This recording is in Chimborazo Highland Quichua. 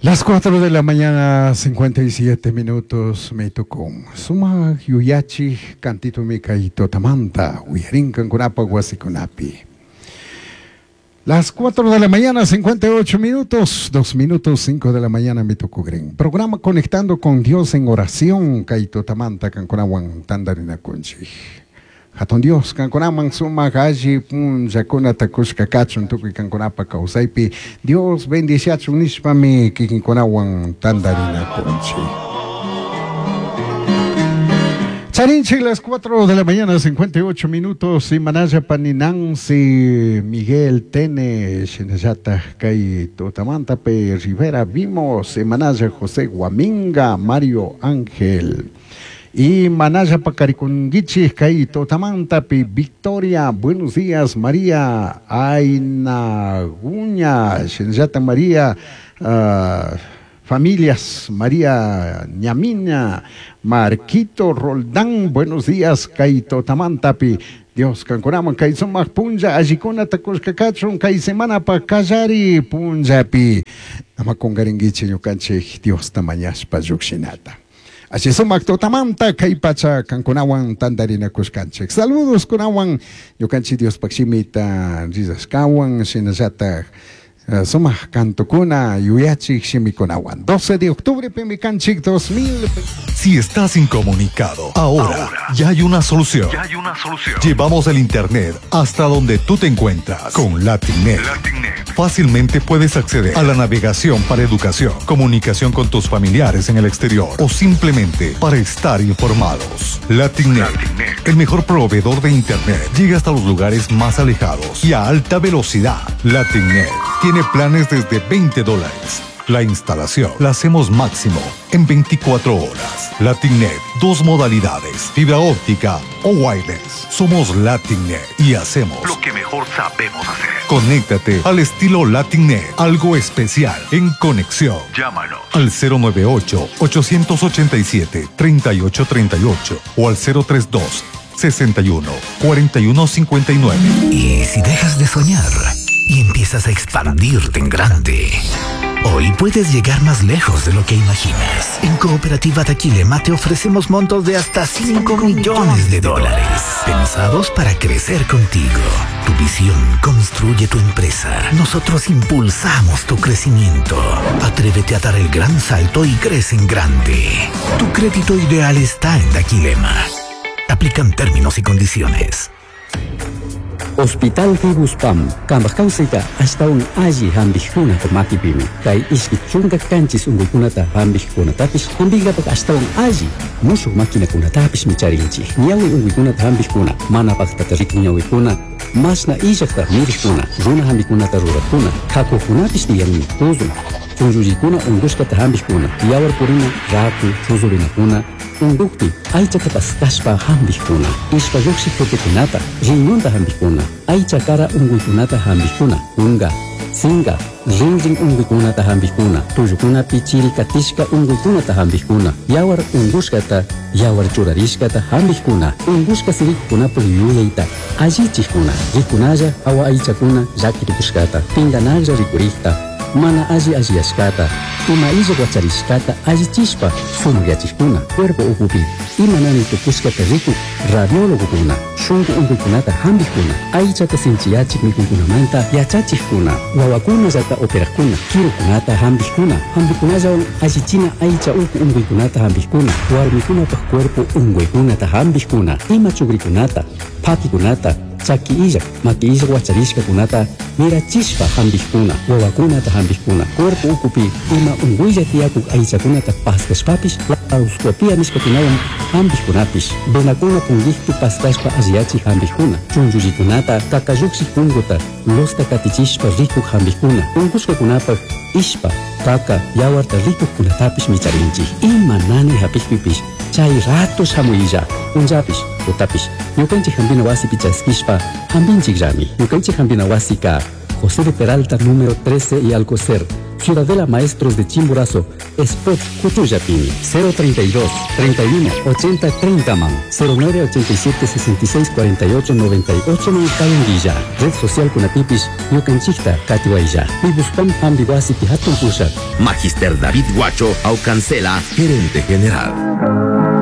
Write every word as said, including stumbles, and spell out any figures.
Las cuatro de la mañana, cincuenta y siete minutos, me tocó. Sumaj yuyachi cantito mi kay tutamanta, uyarin kankunapa wasikunapi. Las cuatro de la mañana, cincuenta y ocho minutos, dos minutos, cinco de la mañana me tocó green. Programa Conectando con Dios en Oración, kay tutamanta kankunawan tandarinakunchik. Hatun Dios, kankunaman sumak alli punllakunata kushka kachun tukuy kankunapa kawsaypi. Dios bendiciachun nishpami kikinkunawan tandarinakunchik. Charinchik las cuatro de la mañana, cincuenta y ocho minutos, y Manaya Pani Nancy, Miguel Tene, Shinayata, Kay Tutamantape, Rivera, vimos, Manaya José Guaminga, Mario Ángel. Y Manaya Pacarikunguichi, Kay Tutamantapi, Victoria, buenos días, María Ainaguña, Shinayata María, uh, familias, María Ñamina, Marquito Roldán, buenos días, kay tutamantapi. Dios kankunaman kay sumak punlla allikunata kushka kachun kay semanapa kallari punllapi. Ama kungaringuichi ñukanchik Diosta mañashpa llukshinata. Así sumak tutamanta kay pacha kankunawan tandarinakushkanchik. Saludos kunawan ñukanchik Diospaj shimita rizashkawan shinallataj Uh, sumak kantukuna yuyachik shimikunawan. doce de octubre pimi kanchik dos mil. Si estás incomunicado, ahora, ahora ya hay una solución. Ya hay una solución. Llevamos el internet hasta donde tú te encuentras con LatinNet. LatinNet. Fácilmente puedes acceder a la navegación para educación, comunicación con tus familiares en el exterior o simplemente para estar informados. LatinNet, LatinNet. El mejor proveedor de internet, llega hasta los lugares más alejados y a alta velocidad. LatinNet tiene planes desde veinte dólares. La instalación la hacemos máximo en veinticuatro horas. LatinNet, dos modalidades, fibra óptica o wireless. Somos LatinNet y hacemos lo que mejor sabemos hacer. Conéctate al estilo LatinNet, algo especial en conexión. Llámanos al cero nueve ocho, ochocientos ochenta y siete, treinta y ocho treinta y ocho o al cero tres dos, sesenta y uno, cuarenta y uno cincuenta y nueve. ¿Y si dejas de soñar y empiezas a expandirte en grande? Hoy puedes llegar más lejos de lo que imaginas. En Cooperativa Daquilema te ofrecemos montos de hasta cinco millones de dólares, pensados para crecer contigo. Tu visión construye tu empresa. Nosotros impulsamos tu crecimiento. Atrévete a dar el gran salto y crece en grande. Tu crédito ideal está en Daquilema. Aplican términos y condiciones. Hospital Fibuspam, kambaj kawsayta ashtawan alli hampikkunata makipimi. Kay ishki chunka kanchis unkuykunata hampikkunatapish hampinkapak ashtawan alli mushuk maquinakunatapishmi charinchik. Ñawi unkuykunata hampikkuna, mana paktata rikun ñawikuna, mashna illakta mirikkuna, runa hampikunata rurakkuna, kakukunapish tiyanmi, tuzun, chunllullikuna unkushkata hampikkuna, yawar purina raku chuzurinakuna unkukpi aychata paskashpa hampikkuna, ishpa llukshik jutikunata, riñonta hampikkuna, aycha kara unkuykunata hampikkuna, kunka, sinka, rinrin unkuykunata hampikkuna, tullukunapi chiri katishka unkuykunata hampikkuna, yawar unkushkata, yawar churarishkata hampikkuna, unkushka sirikukunapuk yuyayta allichikkuna, rikunalla hawa aychakuna llaki tukushkata, pinkanaklla rikurikta, mana alli alliyashkata, ima illak wacharishkata allichishpa sumakyachikkuna, cuerpo ukupi ima nani tukushkata rikuk radiólogokuna, shunku unkuykunata hampikkuna, aychata sinchiyachik mikuykunamanta yachachikkuna, wawakunallata operakkuna, kirukunata hampikkuna, hampikunallawan allichina aycha uku unkuykunata hampikkuna, warmikunapak cuerpo unkuykunata hampikkuna, ima chukrikunata, pakikunata, chaki illak, maki illak wacharishkakunata mirachishpa hampikkuna, wawakunata hampikkuna, cuerpo ukupi ima unkuylla tiyakuk aychakunata paskashpapish laparoscopia nishkakunawan hampikkunapish, venakuna punkikpi paskashpa alliyachik hampikkuna, chunchullikunata, kakallukshik punkuta, luzta katichishpa rikuk hampikkuna, unkushkakunapak ishpa, kaka, yawarta rikukkunatapish micharinchik. Ima nani hapikpipish chay rato shamuylla, punllapish, tutapish, ñukanchik hampina wasipi chaskishpa hampinchikllami. Ñukanchik hampina wasika José de Peralta número trece y Alcocer, Ciudadela Maestros de Chimborazo, Spot Cuchullapini, cero treinta y dos, treinta y uno, ochenta, treinta man, cero nueve ochenta y siete, sesenta y seis, cuarenta y ocho, noventa y ocho man Cayanguilla. Red social Kunatipis, Ñukanchikta, Katiwaya. Fibuspam Hambiwasi Pihatun Pushat. Magister David Guacho Aucancela, gerente general.